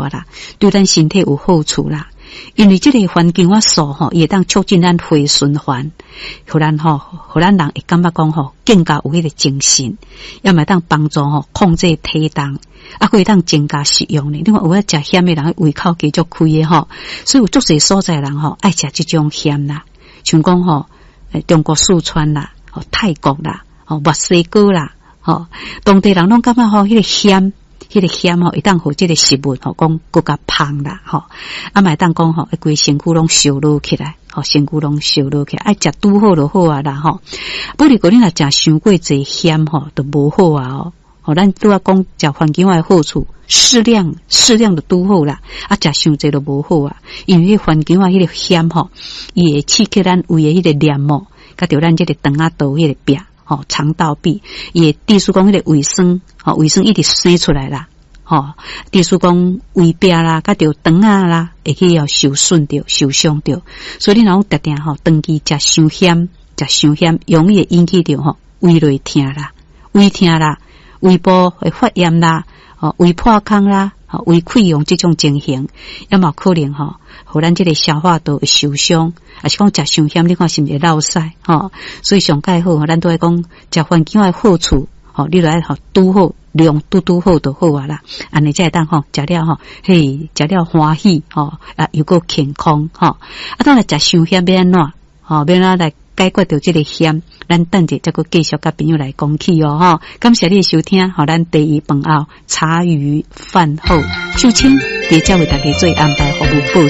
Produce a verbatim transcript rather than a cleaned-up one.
啊啦，對咱身體有好處啦。因為這个番薑仔素吼，伊會當促進咱血循環，予咱吼，予咱人會感覺講吼，更加有彼个精神，也嘛會當幫助吼控制體重，啊，閣會當增加食欲呢。你看有愛食鹹的人，胃口加足開的吼，所以有足濟所在人吼愛食這種鹹啦，像講吼，中國四川啦，吼泰國啦，吼墨西哥啦，吼當地人攏感覺吼彼个鹹。彼个鹹吼，會當予這个食物吼講閣較芳啦吼，啊嘛會當講吼，規身軀攏燒熱起來，吼身軀攏燒熱起來，愛食拄好就好啊啦吼。不過你若食傷過濟鹹吼，就無好啊哦。吼，咱拄仔講食番薑仔的好處，適量適量就拄好啦。啊，食傷濟就無好啊，因為彼番薑仔彼个鹹吼，伊會刺激咱胃的彼个黏膜，佮著咱這个腸仔道彼个壁。吼，腸道壁，伊會致使講彼个胃酸，吼胃酸一直生出來啦，吼，致使講胃壁啦，佮著腸仔啦，會去予受損著、受傷著。所以你若講定定吼，長期食傷鹹、食傷鹹，容易會引起著吼胃內疼啦、胃疼啦、胃部會發炎啦、吼胃破空啦、吼胃潰瘍這種情形，也嘛可能吼，予咱這个消化道會受傷，抑是講食傷鹹，你看是毋是會落屎吼？所以上蓋好，咱都愛講食番薑的好處，吼，你著愛吼拄好量拄拄好就好啊啦。按呢才會當吼食了吼，嘿，食了歡喜吼，啊又閣健康吼。啊，當然食傷鹹欲按怎？吼，欲按怎來解決著這个鹹？咱等者再閣繼續佮朋友來講起哦吼。感謝你的收聽，予咱茶餘飯後茶餘飯後，秀清佇遮為大家做安排服務報。